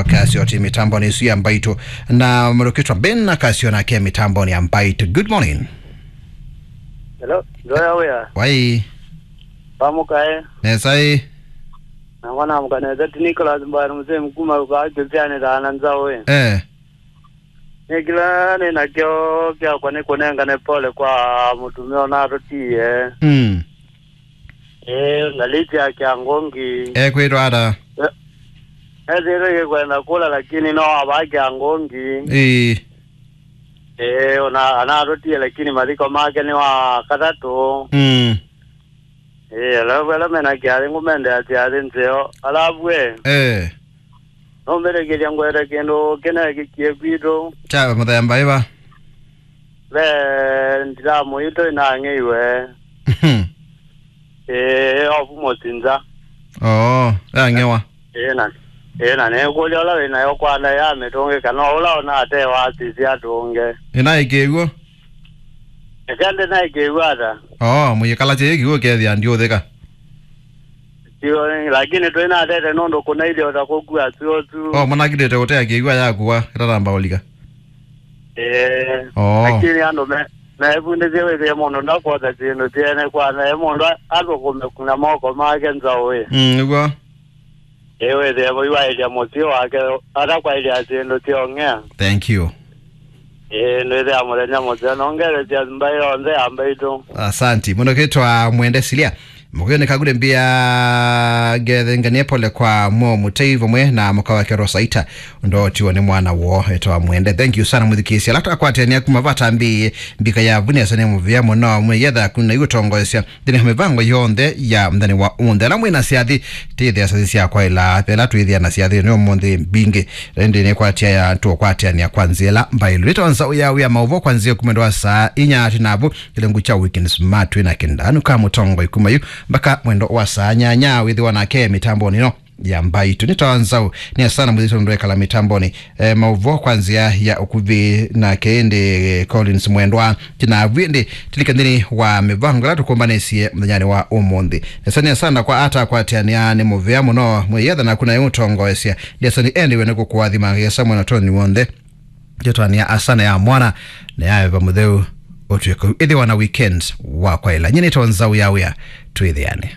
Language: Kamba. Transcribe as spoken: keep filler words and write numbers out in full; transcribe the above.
Wakasio ti mitamboni isu ya Mbaitũ. Na mũndũ ũkwĩtwa Ben Akasio nake mitamboni ya Mbaitũ. Good morning. Hello, ndoya wĩa. Wai. Pamukae. Nesai. Na mwana amkanete ti Nicholas Mbwana mzee mkuma kwa Josiane dana nzawe. Eh. Nĩ kĩla nĩ nakyo kyakwa nĩ kũnengane pole kwa mũtumĩa ũnatũtie. Mm. Ĩĩ, ngalĩti ya Kĩangũngi. Ekwĩtwa ata? Ethĩĩtwe ĩkwenda kũla, lakini no ava Kĩangũngi. Ĩĩ. Ĩĩ, ona anatũtie, lakini mathiko make nĩ wa katatũ. Mm. Ĩĩ, alafu ala mena kĩathĩ ngũmendea kĩathĩ nzeo. Alafu e. Eh. Nũmbĩtĩkĩlya ngwete kĩndũ kĩneekĩkie kwitũ. Kya mũthemba ĩva? Ve ndilamu itũ ĩnang'eiwe. Mhm. Ĩĩ, ovu mũsinza. Oo, yang'ewa. Ĩĩ na, ĩĩ na nĩkũlya ũla wĩ nayo kwanda ya mĩtũngĩ kana ũla ũnatewa asisi atũnge. Ĩnaĩkĩw'o? Eka ndĩnaĩkĩw'a ata? Oo, mũyĩkala kyĩ kĩw'o kethĩa ndiũthĩka. Sio, lakini twĩnatete nũndũ kũnailye ũta kũkua sio tu. Oh, mũnakilĩte ũtea kĩw'a yakua ĩtanamba ũlika. Eh, oh. Lakini andũ me mevundĩsye wĩthĩe mũndũ ndakwota syĩndũ syene kwana e mũndũ a- athũkũme na moko make nzaũĩ. Mm, nĩguo. Ĩ wĩthĩe mũiwaĩlya mũsyĩ wake atakwaĩlya syĩndũ syong'ea. Thank you. Ĩĩ, nĩthĩa mũthenya mũseo nongelesya mbaĩ yonthe ya Mbaitũ. Asanti mũno. Kĩtwa Mwende Silia. Mũkũyũ nĩ kagure mbia ngethenganie pole kwa mo mũtei vamwe na mũka wake Rosaita. Ũndũ otiwa nĩ mwana woo etwa Mwende. Thank you sana mũthikĩĩsya. Ala twakwatania kuma vata mbi mbika ya vunesa nĩ mũvĩa mũno mwĩyetha kuna iũtongoesya. Nthĩnĩ wa mĩvango yonthe ya mũthenya wa ũmũnthĩ. Ala mwĩ na syathĩ, tĩthĩa syathĩ sya kwaĩla. Ela twĩthĩa na syathĩ nĩ ũmũnthĩ mbingĩ. Ĩndĩ nĩkwatya ya tũkwatĩanĩa kwa nzĩa ĩla mbaĩlu. Nĩtawa nzaũ ya wĩa maũvoo kwa nzĩa kuma ndwa saa inya atĩ navu kĩlengu kya Weekend Smart twĩ na kĩndanu ka mũtongoi kuma yu mpaka mwendo wa saa nyanya wĩthĩwa nake mĩtambonĩ ĩno ya Mbaitũ. Nĩtawa nzaũ nĩ asana mwĩthĩtwe ndwekala mĩtambonĩ. Eh, maũvoo kwa nzĩa ya ũkuvĩ nake ĩndĩ, eh, Collins Mwendwa. Kĩnavu ĩndĩ tũlika nthĩnĩ wa mĩvango ĩla tũkũmbanĩsye mũthenyanĩ wa ũmũnthĩ. Nesa nĩ asanda kwa ata akwatĩanĩa nĩ mũvea mũno mwĩyetha naku naĩ ũtongoesya. Ndĩasoni endiwe nĩ kũkũathima ngesa mwena toni w'onthe. Yetwanĩa asana ya mwana na ya Veva Mũtheu ũtw'ĩke ĩthĩwa na weekend wa kwaĩla. Nyie nĩtawa nzaũ ya wĩa twĩthĩane.